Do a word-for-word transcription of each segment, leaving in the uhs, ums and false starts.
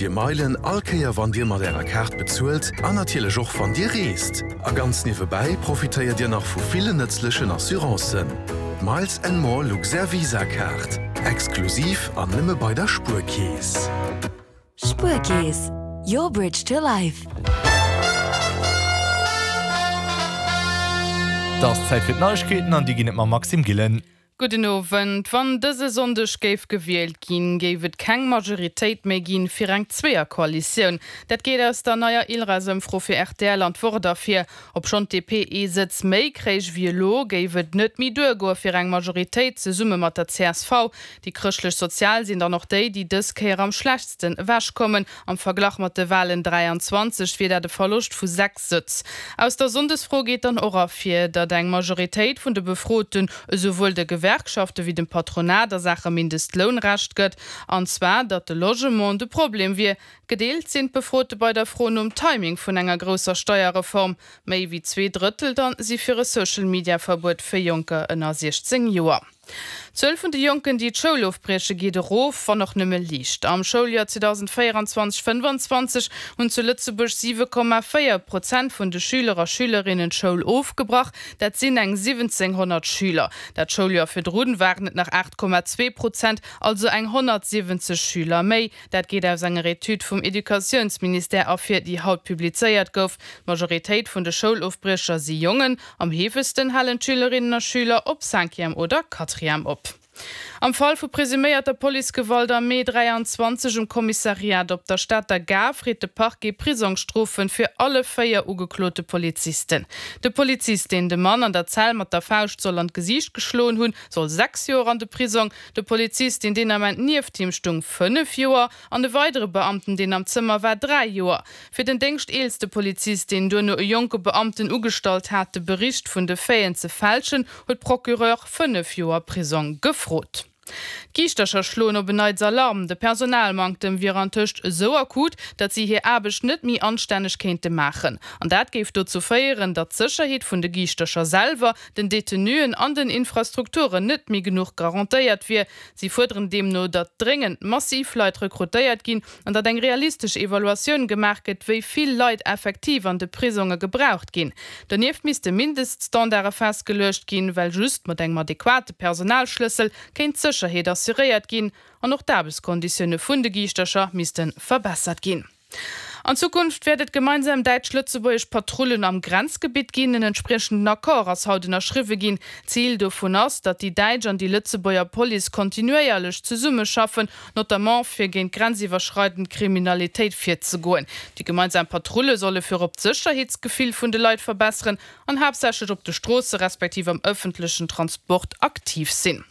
Dir Meilen all Kéier wann Dir mat Ärer Kaart bezuelt an natierlech och wann Dir reest. A ganz niewebäi profitéiert Dir nach vu villen nëtzlechen Assurancen. Miles and More Luxair Visa Kaart. Exklusiv an nëmme bei der Spuerkeess. Spuerkeess, your bridge to life. Et ass Zäit fir d'Neiegkeeten an déi ginn et mam Maxime Gillen. Gudden Owend. Wann dëse Sonndeg géif gewielt ginn, géif et keng Majoritéit méi ginn fir eng Zweeër-Koalitioun. Dat geet aus der neier ILRAS-Ëmfro fir rtl an d'Wort ervir. Obschonn d'DP ee Sëtz méi kréich wéi elo, géif et net méi duergoe fir eng Majoritéit zesumme mat der csv. Déi Chrëschtlech-Sozial sinn dann och déi, déi dës Kéier am schlechtsten ewechkommen. Am Verglach mat de Walen dräianzwanzeg wier dat e Verloscht vu sechs Sëtz. Aus der Sonndesfro geet dann och ervir, datt eng Majoritéit vun de Befroten esouwuel de Gewerkschafte wéi dem Patronat a Saache Mindestloun Recht gëtt, an zwar datt de Logement de Problem wier. Gedeelt sinn d'Befrote bei der Fro nom Timing vun enger grousser Steierreform. Méi wéi zwee Drëttel dann si fir e Social-Media-Verbuet fir Jonker ënner siechzéng Joer. D'Zuel vun de Jonken, déi d'Schoul ofbrieche geet erof, wann och nëmme liicht. Am Schouljoer zweedausendvéierundzwanzeg fënnwanzwanzeg hunn zu Lëtzebuerg siwe Komma véier Prozent vun de Schüler a Schülerinnen d'Schoul ofgebrach. Dat sinn eng siwwenzénghonnert Schüler. Dat Schouljoer virdrun waren et nach aacht Komma zwee Prozent, also eng honnertsiwwenzeg Schüler méi. Dat geet aus enger Etüd vum Educatiounsministère ervir, déi haut publizéiert gouf. D'Majoritéit vun de Schoulofbriecher si Jongen. Am heefegsten halen d'Schülerinnen a Schüler op Cinquième oder Quatrième op. Am Fall vu presuméierter Policegewalt am Mee dräianzwanzeg um Kommissariat op der Stater Gare freet de Parquet Prisongsstrofe fir alle véier ugeklote Polizisten. De Polizist, deen de Mann an der Zell mat der Fauscht soll an d'Gesiicht geschloen hunn, soll sechs Joer an de Prisong, de Polizist, deen deen Ament nieft him stung, fënnef Joer an e weidere Beamten, deen am Zëmmer war, dräi Joer. Fir den déngschteelste Polizist, deen duerno e jonke Beamten ugestallt hat, de Bericht vun de Faiten ze fälschen, huet d'Procureur fënnef Joer Prisong gefrot. D'Giischtercher schloen op en Neits Alarm, De Personalmanktem wier antëscht esou akut, datt si hir Aarbecht net méi anstänneg kéinte maachen. An dat géif dozou féieren, datt d'Sécherheet vun de Giischtercher selwer, den Detenuen an den Infrastrukturen net méi genuch garantéiert wier. Si fuerderen deemno, datt dréngend massiv Leit rekrutéiert ginn an datt eng realistesch Evaluatioun gemaach gëtt, wéi vill Leit effektiv an de Prisonge gebraucht ginn. Donieft misste Mindeststandarde festgeluecht ginn, well just mat engem adequate Personalschlëssel kéint d'Sécherheet assuréiert ginn an och d'Aarbechtskonditioune vun de Giischtercher misste verbessert ginn. An Zukunft wäert et gemeinsam däitsch-lëtzebuergesch Patrullen am Grenzgebitt ginn. En entspriechenden Accord ass haut ënnerschriwwe ginn. Zil dovun ass, datt déi däitsch an déi Lëtzebuerger Police kontinuéierlech zesummeschaffen, notamment fir géint grenziwwerschreidend Kriminalitéit virzegoen. Déi gemeinsam Patrulle solle virop d'Sécherheetsgefill vun de Leit verbesseren an haaptsächlech op de Stroosse respektiv am ëffentlechen Transport aktiv sinn.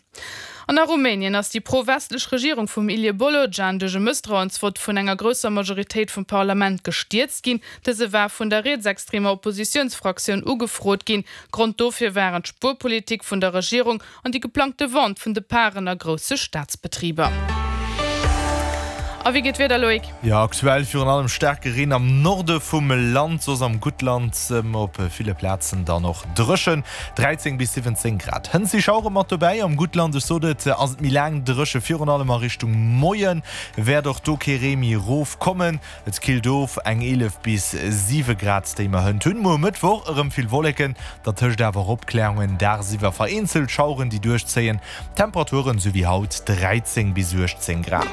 An a Rumänien ass déi pro-westlech Regierung vum Ilie Bolojan duerch e Mësstrauensvott vun enger grousser Majoritéit vum Parlament gestierzt ginn. Dëse war vun der rietsextremer Oppositiounsfraktioun ugefrot ginn. Grond dofir waren d'Spuerpolitik vun der Regierung an déi geplangte Vente vun de Paren a grousse Staatsbetriber. A wéi geet d'Wieder, Loïc? Jo, aktuell virun allem staarke Reen am Norde vum Land, soss am Guttland op ville Plazen dann och dréchen, dräizéng bis siwwenzéng Grad. Hënt si Schauere mat dobäi, am Guttland, ech sot et, ass et méi laang dréche, virun allem a Richtung Moie wäert och do kee Ree méi erof kommen. Et killt of, eng eelef bis siwe Grad, déi mer hënt hunn. Muer Mëttwoch erëm vill Wolleken, dertëscht awer och Opkläerungen, dagsiwwer vereenzelt Schaueren, déi duerchzéien. Temperaturen sou wéi haut dräizéng bis uechtzéng Grad.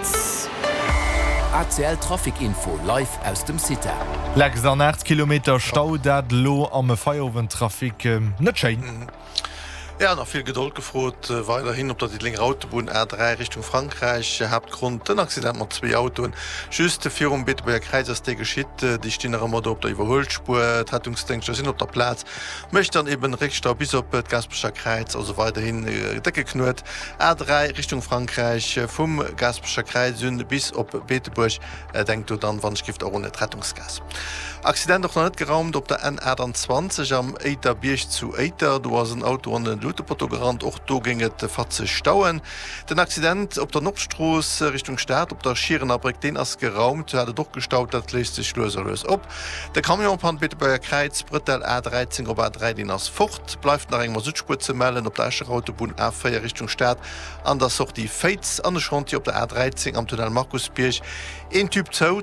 A C L Trafic Info live aus dem CITA. Lex an aacht Kilometer Stau, dat elo am Feierowendtrafic, net schéin. Jo, nach vill Gedold gefrot weiderhin op der Diddelenger Autobunn A dräi Richtung Frankräich. Haaptgrond den Accident mat zwee Autoen just virum Beetebuerger Kräiz ass dee geschitt. Déi stinn nach ëmmer do op der Iwwerhuelspuer. D'Rettungsdéngschter sinn op der Plaz. Mécht dann eben Réckstau bis op d'Gaasperecher Kräiz, also weiderhin décke Knuet. A dräi Richtung Frankräich vum Gaasperecher Kräiz un bis op Beetebuerg. Denkt do dann wann ech giff och un d'Rettungsgaass. Accident och nach net geraumt op der N achtanzwanzeg am Éiterbierg zu Éiter. Do ass en Auto an e Luutepotto gerannt. Och do géing et fatzeg stauen. Den Accident op der Nordstrooss Richtung Stad op der Schierenerbréck, deen ass geraumt. Do hat et och gestaut, dat léist sech lues a lues op. De Camion pannt Beetebuerger Kräiz, Brëttel A dräizéng op A dräi, deen ass fort. Bleift nach eng Masuttspuer ze mellen op der Escher Autobunn A véier Richtung Stad an der Sortie Féiz an e Chantier op der A dräizéng am Tunnel Markusbierg. Een Tube zou.